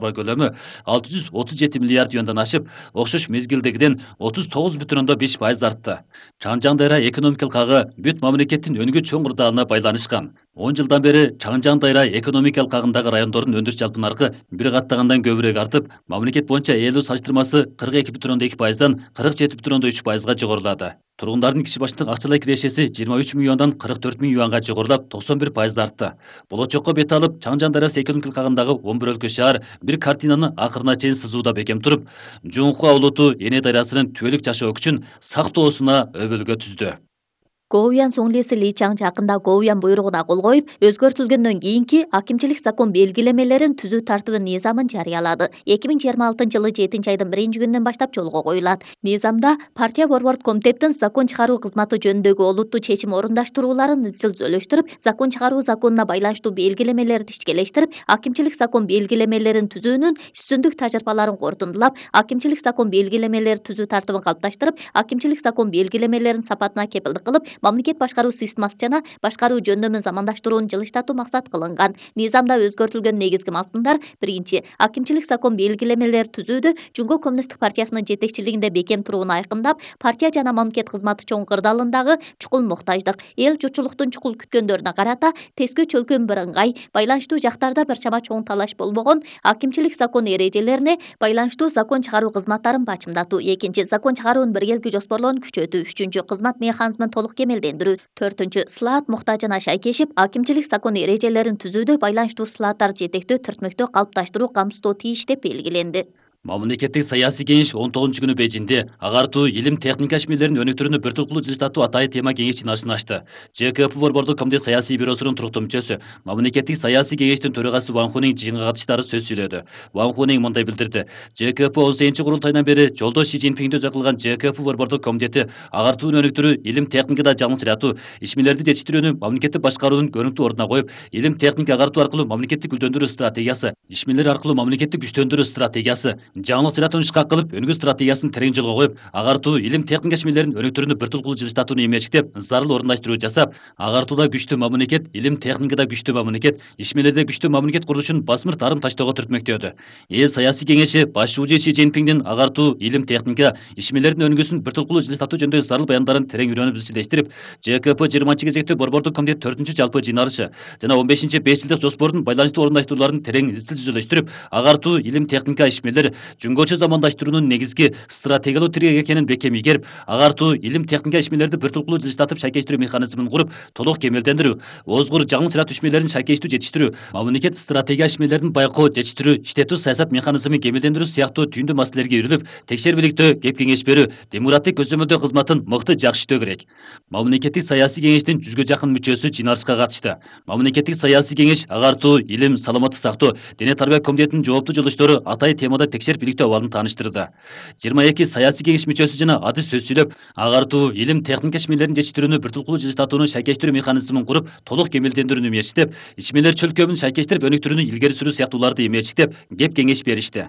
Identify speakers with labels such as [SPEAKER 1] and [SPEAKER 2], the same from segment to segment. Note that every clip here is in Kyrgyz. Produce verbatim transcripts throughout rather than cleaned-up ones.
[SPEAKER 1] көлөмү алты жүз отуз жети миллиард юандан ашып, окшош мезгилдегиден отуз тогуз бүтүн ондон беш пайыз артты. Чаңжаң дайра экономикалык агы бүт мамлекеттин өнүгүү чоң курдалына байланышкан. он жылдан бери Чаңжаң дайра экономикалык агындагы райондордун өндүрүш жалпы наркы бир каттагандан көбүрөөк артып, мамлекет боюнча ээлүү салыштырмасы кырк эки бүтүн ондон эки пайыздан кырк жети бүтүн ондон үч пайызга жогорулады. Тургундардын киши башындык акчалай кирешеси жыйырма үч миллиондон кырк төрт миң юанга жогорулап, токсон бир пайыз артты. Болочокко бет алып, Чаңжаң дайрасы экономикалык агындагы он бир өлкө шаар бир картинаны акырына чейин сызууда бекем туруп, Жуңхуа улуту Эне дайрасынын түбөлүк жашоо күчүн сактоосуна өбөлгө түздү.
[SPEAKER 2] Гоуян Соңлиси Ли Чаң жакында Гоуян буйругуна кол коюп, өзгөртүлгөндөн кийинки акимчилик закон белгилемелерин түзүү тартыбы низамын жарыялады. эки миң жыйырма алтынчы жылы жетинчи айдын биринчи күнүнөн баштап жолго коюлат. Низамда партия борбордук комитеттин закон чыгаруу кызматы жөнүндөгү олуттуу чечим орундаштырууларын изчил зөөлөштүрүп, закон чыгаруу законуна байланыштуу белгилемелерди ишкелештирип, акимчилик закон белгилемелерин түзүүнүн үстүндүк тажрыйбаларын корутундулап, акимчилик закон белгилемелери түзүү тартыбын калыпташтырып, акимчилик закон белгилемелеринин сапатына кепилдик кылып, мамлекет башкаруу системасы жана башкаруу жөндөмүн замандаштырууну жылыштатуу максат кылынган. Низамда өзгөртүлгөн негизги мазмундар: биринчи, акимчилик закон белгилемелери түзүүдө Жумгоо Коммунисттик партиясынын жетекчилигинде бекем турууну айкындап, партия жана мамлекет кызматы чоң кырдаалындагы чукул муктаждык, эл журтчулуктун чукул күткөндөрүнө карата тескөө чөлкөм бирыңгай, байланыштуу жактарда бир чама чоң талаш болбогон акимчилик закон эрежелерине байланыштуу закон чыгаруу кызматтарын бачымдатуу. Экинчи, закон чыгаруунун биргелки жоспорлоонун күчөтүү. Үчүнчү, кызмат механизмин толук кемелдендирүү. Төртүнчү, слаат муктажына шайкешип, акимчилик закон эрежелерин түзүүдө байланыштуу слааттарды жетектөө түртмөктөө калыпташтыруу камсыздоо тийиш деп белгиленди.
[SPEAKER 1] Мамлекеттик саясий кеңеш он тогузунчу күнү Бейжиңде агартуу, илим, техника ишмерлеринин өнүктүрүүнү бир турлуу жылыштатуу атайын тема кеңеш жыйналышын ачты. ЖКП борбордук комитет саясий бюросунун туруктуу мүчөсү, мамлекеттик саясий кеңештин төрагасы Ван Хуның жыйынга катышаары сөз сүйлөдү. Ван Хуның мындай билдирди: ЖКП он сегизинчи курултайынан бери жолдош Ши Цзиньпиңди өзү кылган ЖКП борбордук комитети агартууну өнүктүрүү, илим, техникада жаңылчыратуу, ишмерлерди жетиштирүүнү мамлекеттик башкаруунун көрүнүктүү ордуна коюп, илим, техника агартуу аркылуу мамлекеттик гүлдөндүрүү стратегиясы, ишмерлер аркылуу мамлекеттик күчтөндүрүү стратегиясы, жаңылчыратууну ишке кылып, өнүгүү стратегиясын терең жолго коюп, агартуу, илим, техника ишмерлеринин өнүктүрүүнү бир турлуу жылыштатууну эмерчиктеп, зарыл орундаштыруу жасап, агартууда күчтүү мамлекет, илим, техникада күчтүү мамлекет, ишмерлерде күчтүү мамлекет курулушун басмыр тарым таштоого түртмөктөдү. Эл саясий кеңеши башчы Ши Цзиньпиңдин агартуу, илим, техника, ишмерлердин өнүгүүсүн бир турлуу жылыштатуу жөнүндөгү зарыл баяндарын терең үйрөнүп изчилештирип, ЖКП жыйырманчы кезектүү борбордук комитет төртүнчү жалпы жыйналышы жана он бешинчи беш жылдык жоспордун байланыштуу орундаштырууларын терең изчил жүзөлөштүрүп, агартуу, илим, техника, ишмерлер жөнгөчө замандаштыруунун негизги стратегиялуу тирек экенин бекем ийгерип, агартуу, илим, техника ишмерлерди бир турлуу жылыштатып шайкештирүү механизмин куруп, толук кемелдендирүү, озгур жаңылчыратуу ишмерлерин шайкештүү жетиштирүү, мамлекет стратегия ишмерлерин байкоо, жетиштирүү, иштетүү саясат механизмин кемелдендирүү сыяктуу түйүндүү маселелерге үйрүлүп, текшербиликтөө, кеп кеңеш берүү, демократик көзөмөлдөө кызматын мыкты жакшыртуу керек. Мамлекеттик саясий кеңештин жүзгө жакын мүчөсү жыйналышка катышты. Мамлекеттик саясий кеңеш агартуу, илим, саламаттык сактоо, дене тарбия комитетинин жооптуу жолдоштору атайын темада текшерип иликтөө абалын тааныштырды. жыйырма эки саясий кеңеш мүчөсү жана адис сөз сүйлөп, агартуу, илим, техника ишмерлерин жетиштирүүнү бир турлуу жылыштатууну шайкештирүү механизмин куруп, толук кемелдендирүүнү эмерчиктеп, ишмерлер чөлкөмүн шайкештирип өнүктүрүүнү илгери сүрүү сыяктууларды эмерчиктеп, кеп кеңеш беришти.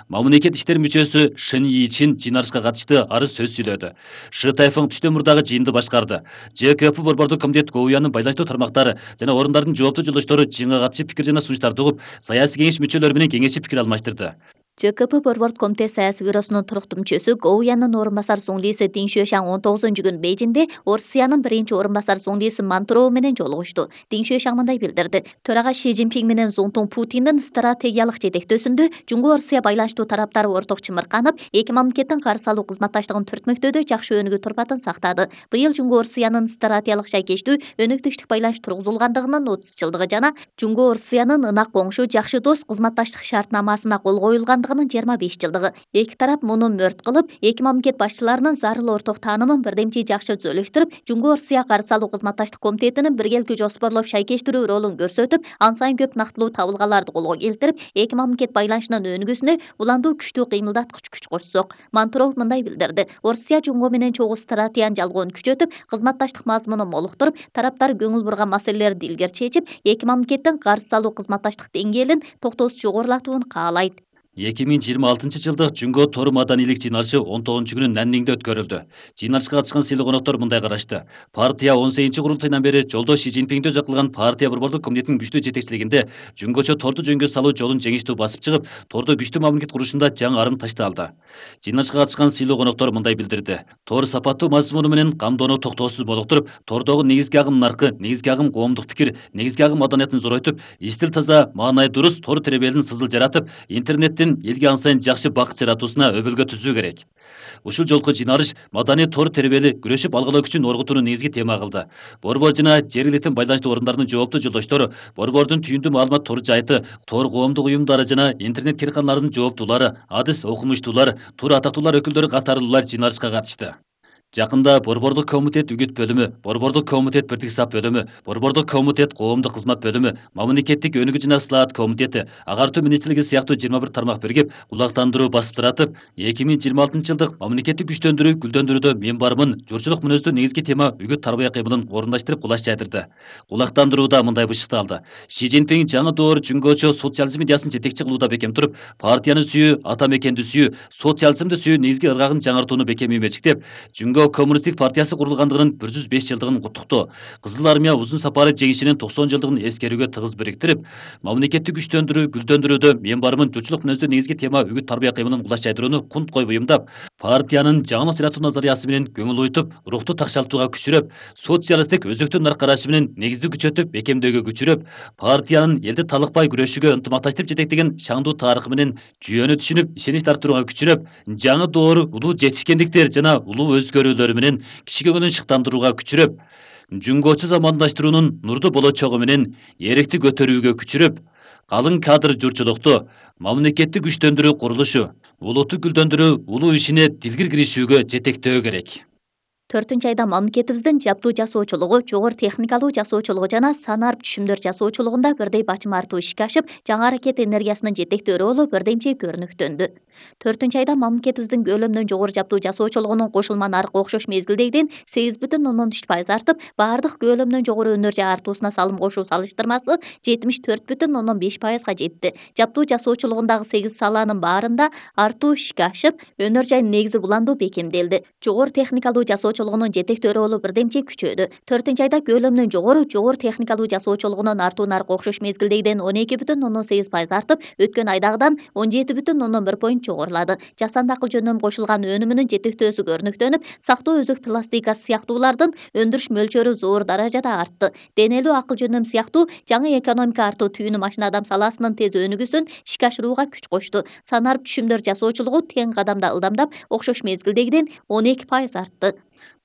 [SPEAKER 1] Мамлекет иштери мүчөсү Шин Йичин жыйналышка катышты, ары сөз сүйлөдү. Шы Тайфың түштөн мурдагы жыйынды башкарды. ЖКП борбордук комитет Гоуяндын байланыштуу тармактары жана орундардын жооптуу жолдоштору жыйынга катышып пикир жана сунуштарды угуп, саясий кеңеш мүчөлөрү менен кеңешип пикир алмаштырды.
[SPEAKER 2] ЖКП борбордук комитет саясий бюросунун туруктуу мүчөсү Гоуяндын орун басары Соңлиси Дин Шуэшаң он тогузунчу күнү Бейжиңде Орусиянын биринчи орун басары Соңлиси Мантуроу менен жолугушту. Дин Шуэшаң мындай билдирди: төрага Ши Цзиньпиң менен Зуңтуң Путиндин стратегиялык жетектөөсүндө Жумгоо Орусия байланыштуу тараптары орток чымырканып, эки мамлекеттин каршы алуу кызматташтыгын түртмөктөөдө жакшы өнүгүү турпатын сактады. Быйыл Жумгоо Орусиянын стратегиялык шайкештүү, өнөктүштүк байланыш тургузулгандыгынын отуз жылдыгы жана Жумгоо Орусиянын ынак коңшу, жакшы дос кызматташтык шартнамасына кол коюлган жыйырма беш жылдыгы. Эки тарап муну мөрт кылып, эки мамлекет башчыларынын зарыл орток таанымын бирдемчи жакшы зөөлөштүрүп, Жумгоо Орусия каршы алуу кызматташтык комитетинин биргелки жоспорлоп шайкештирүү ролун көрсөтүп, ан сайын көп нактылуу табылгаларды колго келтирип, эки мамлекет байланышынын өнүгүүсүнө уландуу күчтүү кыймылдаткыч күч кошсок. Мантуров мындай билдирди: Орусия Жумгоо менен чогуу стратегиянын жалгоонун күчөтүп, кызматташтык мазмунун молуктуруп, тараптар көңүл бурган маселелерди илгери чечип, эки мамлекеттин каршы алуу кызматташтык деңгээлин токтоосуз жогорулатууну каалайт.
[SPEAKER 1] эки миң жыйырма алтынчы жылдык Жүнгө тор маданийлик жыйналышы он тогузунчу күнү Нанниңде өткөрүлдү. Жыйналышка катышкан сыйлуу коноктор мындай карашты. Партия он сегизинчи курултайынан бери жолдо Ши Цзиньпиңди өзү кылган партия борбордук комитетинин күчтүү жетекчилигинде Жүнгөчө торду жөнгө салуу жолун жеңиштүү басып чыгып, тордо күчтүү мамлекет курушунда жаңы арым ташталды. Жыйналышка катышкан сыйлуу коноктор мындай билдирди. Тор сапаттуу мазмуну менен камдоону токтоосуз болуктуруп, тордогу негизги агым наркы, негизги агым коомдук пикир, негизги агым маданиятын зоройтуп, истил таза, маанай дурус тор теребелин сызыл жаратып, интернеттин элге ансайын жакшы бакыт жаратуусуна өбөлгө түзүү керек. Ушул жолку жыйналыш маданий тор теребели күрөшүп алгылоо күчүн оргутууну негизги тема кылды. Борбор жана жергиликтүү байланыштуу орундарынын жооптуу жолдоштору, борбордун түйүндүү маалымат тор жайыты, тор коомдук уюмдары жана интернет кирканаларынын жооптуулары, адис окумуштуулар, тор атактуулар өкүлдөрү катарлуулар жыйналышка катышты. Жакында Борбордук комитет үгүт бөлүмү, Борбордук комитет бирдик сап бөлүмү, Борбордук комитет коомдук кызмат бөлүмү, Мамлекеттик өнүгүү жана ысылаат комитети, агартуу министрлиги сыяктуу жыйырма бир тармак биригип, кулактандыруу басып таратып, эки миң жыйырма алтынчы жылдык мамлекеттик күчтөндүрүү, гүлдөндүрүүдө мен бармын, журчулук мүнөздүү негизги тема үгүт тарбия кыймылын орундаштырып кулаш жайдырды. Кулактандырууда мындай бышыкталды. Ши Цзиньпиң жаңы доор Жүнгөчө социализм идеясын жетекчи кылууда бекем туруп, партияны сүйүү, ата мекенди сүйүү, социализмди сүйүү негизги ыргагын жаңыртууну бекем үймечиктеп, Жүнгө коммунисттик партиясы курулгандыгынын бир жүз беш жылдыгын куттуктоо, Кызыл армия узун сапары жеңишинин токсон жылдыгын эскерүүгө тыгыз бириктирип, мамлекеттик күчтөндүрүү, гүлдөндүрүүдө мен бармын журчулук мүнөздүү негизги тема үгүт тарбия кыймылын кулаш жайдырууну кунт коюп уюмдап, партиянын жаңылык жаратуу назариясы менен көңүл уйтуп, рухту такшалтууга күчүрөп, социалисттик өзөктүү нар карашы менен негизди күчөтүп, бекемдөөгө күчүрөп, партиянын элди талыкпай күрөшүүгө ынтымакташтырып жетектеген шаңдуу тарыхы менен жүйөнү түшүнүп, ишенич арттырууга күчүрөп, жаңы доор улуу жетишкендиктер жана улуу өзгөрүүлөр менен киши көңүлүн шыктандырууга күчүрөп, Жүнгөчө замандаштыруунун нурдуу болочогу менен эректи көтөрүүгө күчүрөп, калың кадр журчулукту, мамлекеттик күчтөндүрүү курулушу, улутту гүлдөндүрүү улуу ишине дилгир киришүүгө жетектөө керек.
[SPEAKER 2] төртүнчү айда мамлекетибиздин жабдуу жасоочулугу, жогору техникалуу жасоочулугу жана санарып түшүмдөр жасоочулугунда бирдей бачым артуу ишке ашып, жаңы аракет энергиясынын жетектөө ролу бирдемче көрүнүктөндү. төртүнчү айда мамлекетибиздин көлөмдөн жогору жабдуу жасоочулугунун кошулма наркы окшош мезгилдегиден сегиз бүтүн ондон үч пайыз артып, баардык көлөмдөн жогору энергия артуусуна салым кошуу салыштырмасы жетимиш төрт бүтүн ондон беш пайызга жетти. Жабдуу жасоочулугундагы сегиз салаанын баарында артуу ишке ашып, энергиянын негизи буландуу бекемделди. Жогору техникалуу жасоочулугунун жетектөө ролу бирдемче күчөдү. төртүнчү айда көлөмдөн жогору жогору техникалуу жасоочулугунун артуу наркы окшош мезгилдегиден он эки бүтүн ондон сегиз пайыз артып, өткөн айдагыдан он жети бүтүн ондон бир поинт жогорулады. Жасанды акыл жөнөм кошулган өнүмүнүн жетектөөсү көрүнүктөнүп, сактоо өзөк пластикасы сыяктуулардын өндүрүш мөлчөрү зор даражада артты. Денелүү акыл жөнөм сыяктуу жаңы экономика артуу түйүнү машина адам саласынын тез өнүгүүсүн ишке ашырууга күч кошту. Санарып түшүмдөр жасоочулугу тең кадамда ылдамдап окшош мезгилдегиден он эки пайыз артты.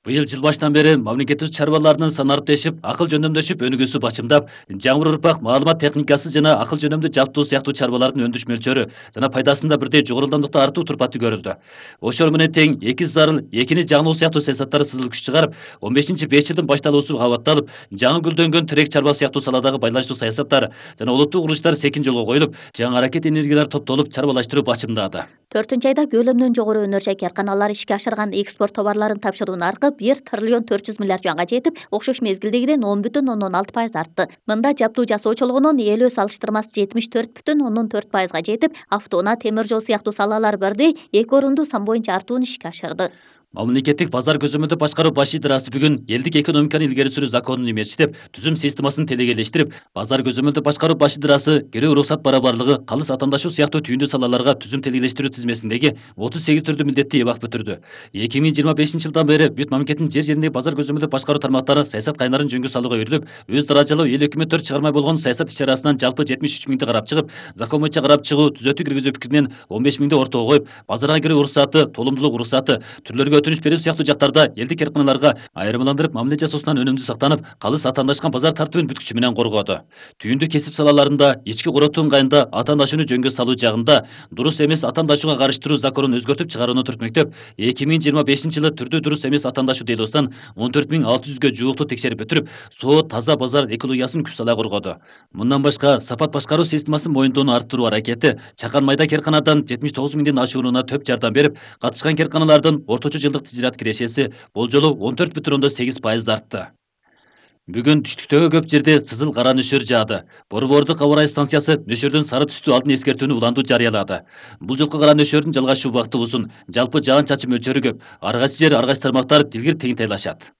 [SPEAKER 1] Быйыл жыл башынан бери мамлекеттик чарбаларынын санариптешип, акыл жөнөмдөшүп өнүгүүсү бачымдап, жаңы урпак маалымат техникасы жана акыл жөнөмдүү жабдуу сыяктуу чарбалардын өндүрүш мөлчөрү жана пайдасында бирдей жогору ылдамдыкта артуу турпаты көрүлдү. Ошол менен тең эки зарыл, экини жаңылуу сыяктуу саясаттары сызыл күч чыгарып, он бешинчи беш жылдын башталуусу кабатталып, жаңы гүлдөнгөн терек чарба сыяктуу саладагы байланыштуу саясаттар жана улуттук курулуштар секин жолго коюлуп, жаңы аракет энергиялар топтолуп чарбалаштыруу бачымдады.
[SPEAKER 2] төртүнчү айда көлөмдөн жогору энергия карканалары ишке ашырган экспорт товарларын тапшыруу наркы бир триллион төрт жүз миллиард юанга жетип, окшош мезгилдегиден он бүтүн ондон алты пайыз артты. Мында жабдуу жасоочулугунун ээлөө салыштырмасы жетимиш төрт бүтүн ондон төрт пайызга жетип, автоунаа, темир жол сыяктуу салалар бирдей эки орунду сан боюнча артууну ишке ашырды.
[SPEAKER 1] Мамлекеттик базар көзөмөлдү башкаруу баш идырасы бүгүн элдик экономиканы илгери сүрүү законун имечтеп, түзүм системасын телегелештирип, базар көзөмөлдү башкаруу баш идырасы кирүү уруксат барабарлыгы, калыс атаандашуу сыяктуу түйүндүү салаларга түзүм телегелештирүү тизмесиндеги отуз сегиз түрдүү милдетти эбак бүтүрдү. эки миң жыйырма бешинчи жылдан бери бүт мамлекеттин жер жериндеги базар көзөмөлдү башкаруу тармактары саясат кайнарын жөнгө салууга үйрүлүп, өз даражалуу эл өкмөттөр чыгармай болгон саясат иш-чарасынан жалпы жетимиш үч миңди карап чыгып, закон боюнча карап чыгуу, түзөтүү киргизүү пикиринен он беш миңди ортого коюп, базарга кирүү уруксаты, толумдуулук уруксаты, түрлөргө өтүнүч берүү сыяктуу жактарда элдик эркиналарга айырмаландырып мамиле жасоосунан өнүмдүү сактанып, калыс атаандашкан базар тартибин бүт күчү менен коргоду. Түйүндүү кесип салаларында, ички коротуу ыңгайында атаандашууну жөнгө салуу жагында дурус эмес атаандашууга карыштыруу законун өзгөртүп чыгарууну түртмөктөп, эки миң жыйырма бешинчи жылы түрдүү дурус эмес атаандашуу делосунан он төрт миң алты жүзгө жуукту текшерип бүтүрүп, соо таза базар экологиясын күч сала коргоду. Мындан башка сапат башкаруу системасын моюндоону арттыруу аракети Чакан майда керканадан жетимиш тогуз миңдин ашууруна төп жардам берип, катышкан керканалардын орточо жылдык тижират кирешеси болжолу он төрт бүтүн ондон сегиз пайыз артты. Бүгүн түштүктөгү көп жерде сызыл кара нөшөр жаады. Борбордук аба ырайы станциясы нөшөрдөн сары түстүү алдын эскертүүнү уландуу жарыялады. Бул жолку кара нөшөрдүн жалгашуу убакыты узун, жалпы жаан чачым мөлчөрү көп. Ар кайсы жер, ар кайсы тармактар дилгир тегинтайлашат.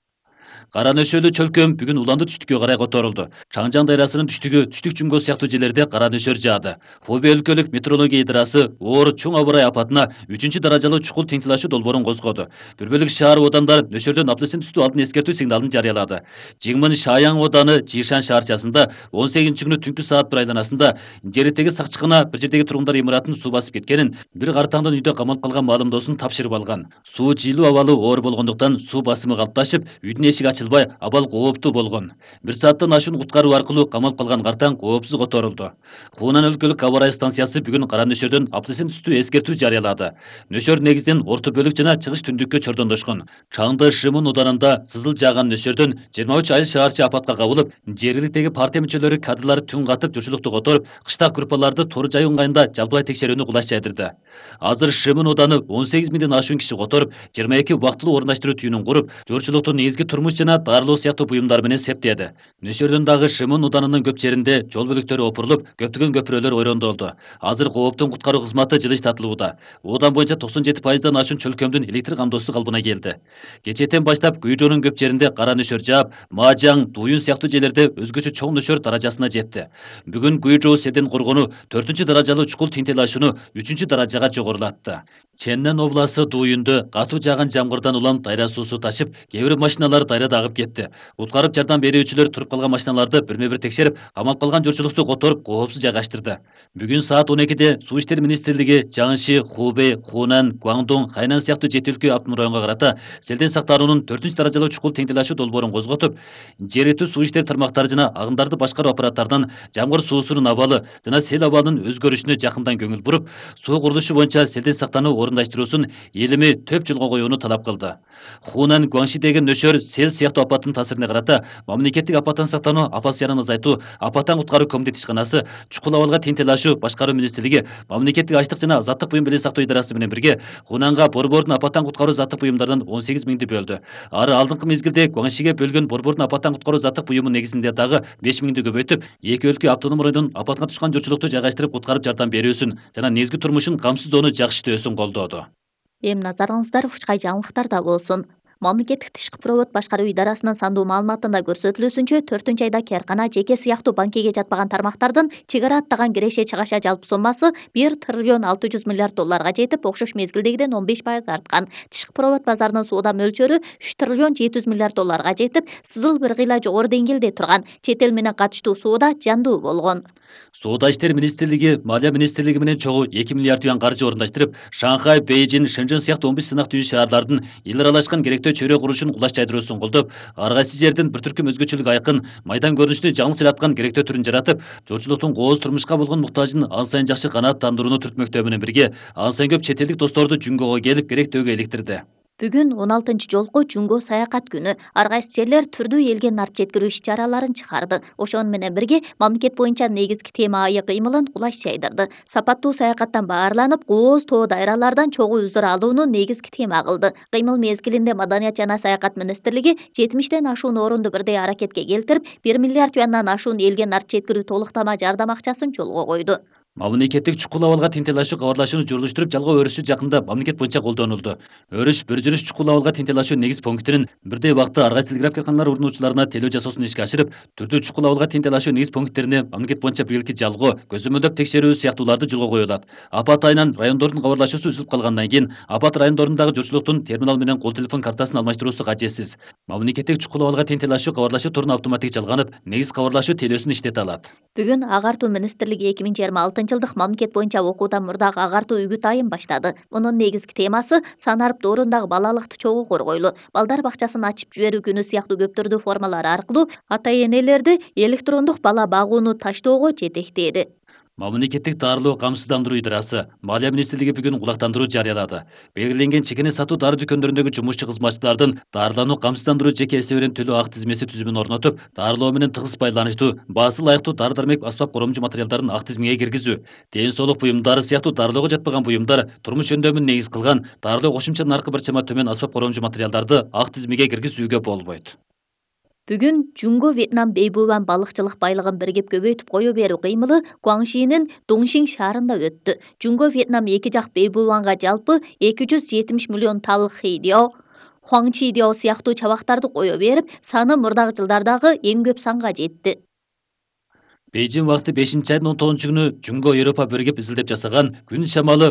[SPEAKER 1] Кара нөшөрлүү чөлкөм бүгүн уланды түштүккө карай которулду. Чаңжаң дайрасынын түштүгү, түштүк Жуңго сыяктуу жерлерде кара нөшөр жаады. Хубей өлкөлүк метеорология идырасы оор чоң аба ырайы апатына үчүнчү даражалуу чукул теңтелашуу долбоорун козгоду. Бир бөлүк шаар одандар нөшөрдөн аптысын түстүү алдын эскертүү сигналын жарыялады. Жиңмин Шаяң ооданы Жишан шаарчасында он сегизинчи күнү түнкү саат бир айланасында жердеги сакчыкына бир жердеги тургундар имаратын суу басып кеткенин, бир картаңдын үйдө камалып калган маалымдоосун тапшырып алган. Суу жыйлуу абалы оор болгондуктан суу басымы калыпташып, үйдүн эшиги ачылбай, абал кооптуу болгон. Бир сааттан ашуун куткаруу аркылуу камалып калган картаң коопсуз которулду. Хунан өлкөлүк аба ырайы станциясы бүгүн кара нөшөрдөн аптысын түстүү эскертүү жарыялады. Нөшөр негизинен орто бөлүк жана чыгыш түндүккө чордондошкон. Чаңды Шымын уданында сызыл жааган нөшөрдөн жыйырма үч айыл шаарчы апатка кабылып, жергиликтеги партия мүчөлөрү кадрлары түн катып журчулукту которуп, кыштак группаларды тору жайуу ыңгайында жалпылай текшерүүнү кулаш жайдырды. Азыр Шымын уданы он сегиз миңден ашуун киши которуп, жыйырма эки убактылуу орундаштыруу түйүнүн куруп, журчулукту негизги турмуш жана дарылоо сыяктуу буюмдар менен септеди. Нөшөрдөн дагы Шымын уданынын көп жеринде жол бөлүктөрү опурулуп, көптөгөн көпүрөлөр ойрондолду. Азыр кооптун куткаруу кызматы жылыш тартылууда. Оодан боюнча токсон жети пайыздан ашуун чөлкөмдүн электр камдоосу калыбына келди. Кечээден баштап Күйжоонун көп жеринде кара нөшөр жаап, Маажаң, Дуюн сыяктуу жерлерде өзгөчө чоң нөшөр даражасына жетти. Бүгүн Күйжоо селден коргонуу төртүнчү даражалуу чукул теңтелашууну үчүнчү даражага жогорулатты. Ченнен обласы Дуюнду катуу жааган жамгырдан улам дайра суусу ташып, кээ бир машиналар дайрада агып кетти. Уткарып жардам берүүчүлөр туруп калган машиналарды бирме бир текшерип, камалып калган журчулукту которуп, коопсуз жайгаштырды. Бүгүн саат он экиде Суу иштер министрлиги Жаңши, Хубей, Хунан, Гуаңдун, Хайнан сыяктуу жети өлкө автономдук районго карата селден сактануунун төртүнчү даражалуу чукул теңтелашуу долбоорун козготуп, жергиликтүү суу иштер тармактары жана агымдарды башкаруу аппараттарынан жамгыр суусунун абалы жана сел абалынын өзгөрүшүнө жакындан көңүл буруп, суу курулушу боюнча селден сактануу орундаштыруусун элими төп жолго коюуну талап кылды. Хунан Гуаңшидеги нөшөр сел сыяктуу апаттын таасирине карата мамлекеттик апаттан сактануу, апат зыянын азайтуу, апаттан куткаруу комитети ишканасы, чукул абалга теңтелашуу башкаруу министрлиги, мамлекеттик ачлык жана азаттык буюм беле сактоо идарасы менен бирге Хунанга борбордун апаттан куткаруу заттык буюмдарынан он сегиз миңди бөлдү. Ары алдыңкы мезгилде Гуаңшиге бөлгөн борбордун апаттан куткаруу заттык буюму негизинде дагы беш миңди көбөйтүп, эки өлкө автономдук районунун апатка түшкөн журчулукту жайгаштырып куткарып жардам берүүсүн жана негизги турмушун камсыздоону жакшыртүүсүн колдоду.
[SPEAKER 2] Эми назарыңыздар ушкай жаңылыктарда болсун. Мамлекеттик тышкы провод башкаруу идарасынын сандуу маалыматында көрсөтүлүүсүнчө, төртүнчү айда Керкана жеке сыяктуу банкиге жатпаган тармактардын чыгара аттаган киреше чыгаша жалпы соммасы бир триллион алты жүз миллиард долларга жетип, окшош мезгилдегиден он беш пайыз арткан. Тышкы провод базарынын соода мөлчөрү үч триллион жети жүз миллиард долларга жетип, сызыл бир кыйла жогору деңгээлде турган. Чет эл менен катыштуу соода жандуу болгон.
[SPEAKER 1] Соода иштер министрлиги Малия министрлиги менен чогуу эки миллиард юан каржы орундаштырып, Шанхай, Бейжин, Шэньчжэн сыяктуу он беш сынак түйүн шаарлардын эл аралашкан керектөө чөйрө курулушун кулаш жайдыруусун колдоп, ар кайсы жердин бир түркүм өзгөчөлүк айкын, майдан көрүнүштүү жаңылык жараткан керектөө түрүн жаратып, журчулуктун кооз турмушка болгон муктажын ан сайын жакшы канааттандырууну түртмөктөө менен бирге, ан сайын көп чет элдик досторду Жуңгого келип керектөөгө иликтирди.
[SPEAKER 2] Бүгүн он алтынчы жолку Жуңго саякат күнү. Ар кайсы жерлер түрдүү элге нарп жеткирүү иш-чараларын чыгарды. Ошону менен бирге мамлекет боюнча негизги тема айы кыймылын кулаш жайдырды. Сапаттуу саякаттан баарланып, кооз тоо дайралардан чогуу үзүр алууну негизги тема кылды. Кыймыл мезгилинде Маданият жана саякат министрлиги жетимиштен ашуун орунду бирдей аракетке келтирип, бир миллиард юандан ашуун элге нарп жеткирүү толуктама жардам акчасын жолго койду.
[SPEAKER 1] Мамлекеттик чукул абалга теңтелашуу кабарлашууну журулуштуруп, жалгоо өрүшү жакында мамлекет боюнча колдонулду. Өрүш бир жүрүш чукул абалга теңтелашуу негиз пунктинин бирдей убакытта ар кайсы телеграф карканалар урнуучуларына телөө жасоосун ишке ашырып, түрдүү чукул абалга теңтелашуу негиз пункттерине мамлекет боюнча биргеликти жалгоо, көзөмөлдөп текшерүү сыяктууларды жолго коюлат. Апат айынан райондордун кабарлашуусу үзүлүп калгандан кийин апат райондорундагы журчулуктун терминал менен кол телефон картасын алмаштыруусу кажетсиз. Мамлекеттик чукул абалга теңтелашуу кабарлашуу торуна автоматик жалганып, негиз кабарлашуу телөөсүн иштете алат.
[SPEAKER 2] Бүгүн агартуу министрлиги эки миң жыйырма алтынчы жылдык мамлекет боюнча окуудан мурдагы агартуу үгүт айын баштады. Мунун негизги темасы санарып доорундагы балалыкты чогуу коргойлу. Балдар бакчасын ачып жиберүү күнү сыяктуу көп түрдүү формалар аркылуу ата-энелерди электрондук бала багууну таштоого жетектээди.
[SPEAKER 1] Мамлекеттик дарылоо камсыздандыруу идарасы Малия министрлиги бүгүн кулактандыруу жарыялады. Белгиленген чекене сатуу дары дүкөндөрүндөгү жумушчу кызматчылардын дарылануу камсыздандыруу жеке эсебинен төлөө ак тизмеси түзүмүн орнотуп, дарылоо менен тыгыз байланыштуу, баасы ылайыктуу дары-дармек аспап коромжу материалдарын ак тизмеге киргизүү, ден соолук буюмдары сыяктуу дарылоого жатпаган буюмдар, турмуш өндөмүн негиз кылган дарылоо кошумча наркы бир чама төмөн аспап коромжу материалдарды ак тизмеге киргизүүгө болбойт.
[SPEAKER 2] Бүгүн Жунго Вьетнам бейбубан балыкчылык байлыгын биригип көбөйтүп кое берүү кыймылы Гуаңшинин Дуңшин шаарында өттү. Жунго Вьетнам эки жак бейбубанга жалпы эки жүз жетимиш миллион талык хидио, хуаңчидио сыяктуу чабактарды кое берип, саны мурдагы жылдардагы эң көп санга жетти.
[SPEAKER 1] Бейжин вакыты бешинчи айдын он тогузунчу күнү Жунго Европа биригип изилдеп жасаган күн шамалы